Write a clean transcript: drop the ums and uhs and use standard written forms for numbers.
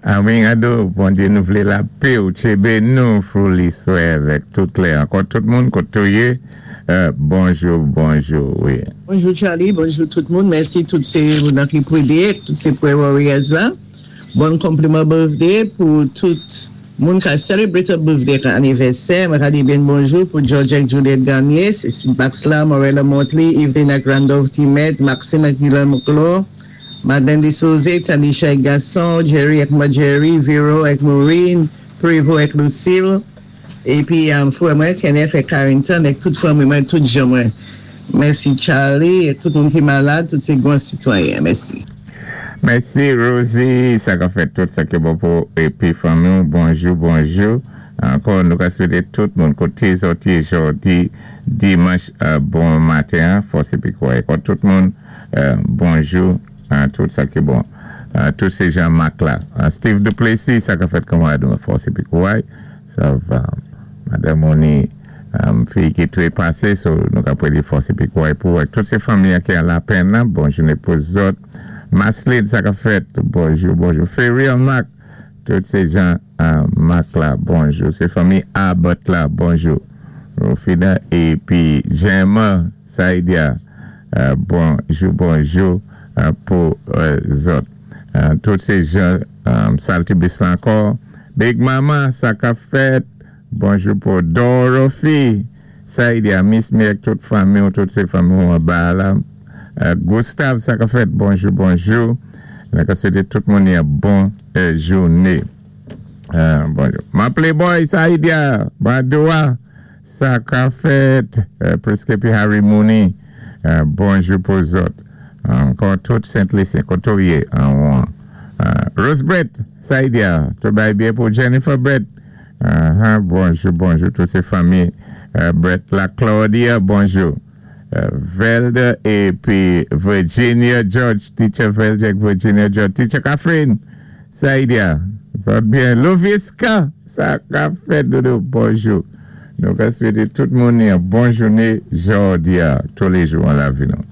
Amen Ado, Bondyé nou vlé lapé ou tchébé nou fouli swè avèk tout klè ankò tout moun kot ou yé bonjou bonjou wi. Bonjou Charly, bonjou tout moun, mèsi tout sé moun nan ki pwidé, tout sé Prayer Warriors la. Bon konpliman birthday pou tout moun ka celebrate a birthday ak anivèsè, mwen ka di byen bonjou pou George ak Juliette Garnier, sis Maxla, Morella Motley, Eveline ak Randolph Timet, Maxime ak Guilain Moclor, Madeleine Desauze, Tanisha ak Gaston, Jerry ak Marjorie, Vero ak Maureen, Prévost ak Lucille, épi frè mwen Kenneth ak Carrington ak tout fanmi mwen, tout jan mwen. Mèsi Charly ak tout moun ki malad, tout sé gran sitwayen. Mèsi. Mèsi Rosie, sa ka fèt tout sa ki bon pou épi fanmi w bonjou bonjou ankò nou ka swété tout moun koté zòt yé jòdi dimanch bon maten an fòs épi kouray kò tout moun. Bonjou tout sa ki bon tout se Jean Marc la Steve Duplessis sa kap fèt kanmarad mwen fòs epi kouray sa va madanm ou ni fi ki trepase so nou ka predi fòs epi kouray pou ou ak tout se fanmi an ki an lapenn nan bon jounen pou zòt Maslid sa kap fèt bonjou bonjou Ferrier Marc tout se Jean Marc la bonjou se fanmi Abbott la bonjou Rofina epi Jèman Saïdia bonjou bonjou pou zòt tout se jan saltibis la ankò big mama sa kap fèt bonjou pou Dorothy Saïdia miss mi ak tout fanmiw tout se fanmiw anba la Gustave sa kap fèt bonjou bonjou mwen ta swete tout moun yon bon joune bonjou man playboy Saïdia Badoua. Sa ka fèt Priske pi Harry Mooney bonjou pou zòt ankò tout Sent Lisyen kote w ye anwon Rose Brett Saïdia tout bagay byen pou Jennifer Brett bonjou bonjou tout se fanmi Brett la Claudia bonjou Velda epi Virginia George Teacher Velda ak Virginia George Teacher Catherine Saïdia zòt byen Loviska sa kap fèt dodo bonjou nou ka swete tout moun yon bon joune jòdia toulejou an lavi nou.